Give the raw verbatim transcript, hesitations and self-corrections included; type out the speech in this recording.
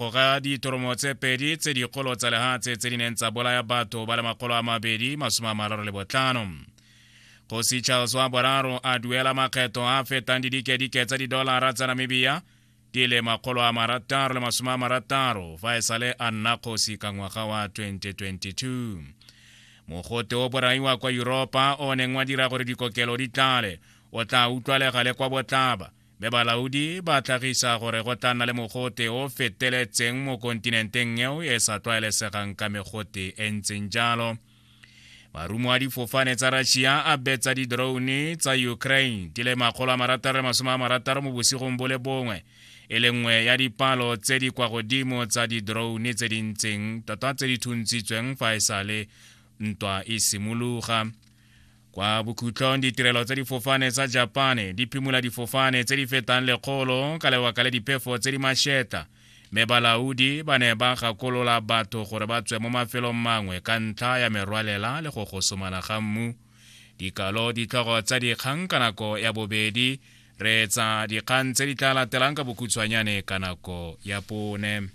Ga dithoromo tse pedi tse dikgolo tsa lehatshe tse di neng tsa bolaya batho ba le makgolo a mabedi masome a mararo le botlhano. Kgosi Charles wa boraro a duela makgetho a fetang didikedike tsa didolara tsa Namibia di le makgolo a marataro le masome a marataro fa e sale a nna kgosi ka ngwaga wa twenty twenty-two. Mogote o boraiwa kwa Yuropa o neng wa dira gore dikokelo di tlale o tla utlwalega le kwa botlhaba, mme balaodi ba tlhagisa gore go tla nna le mogote o feteletseng mo kontinenteng eo e sa tlwaelesegang ka megote e ntseng jalo. Marumo a difofane tsa Russia a betsa di-drone tsa Ukraine di le makgolo a marataro le masome a marataro mo bosigong bo le bongwe, e le nngwe ya dipalo tse di kwa godimo tsa di-drone tse di ntseng tota tse di thuntshitsweng fa e sale ntwa e simologa. Kwa bokhutlong, ditirelo tsa difofane tsa Japane di phimola difofane tse di fetang lekgolo ka lebaka le diphefo tse di mašetla, mme balaodi ba ne ba gakolola batho gore ba tswe mo mafelong mangwe ka ntlha ya merwalela le go gosomana ga mmu. Dikalo ditlhogo tsa dikgang ka nako ya bobedi. Reetsa dikgang tse di tla latelang ka bokhutshwanyane ka nako ya pone.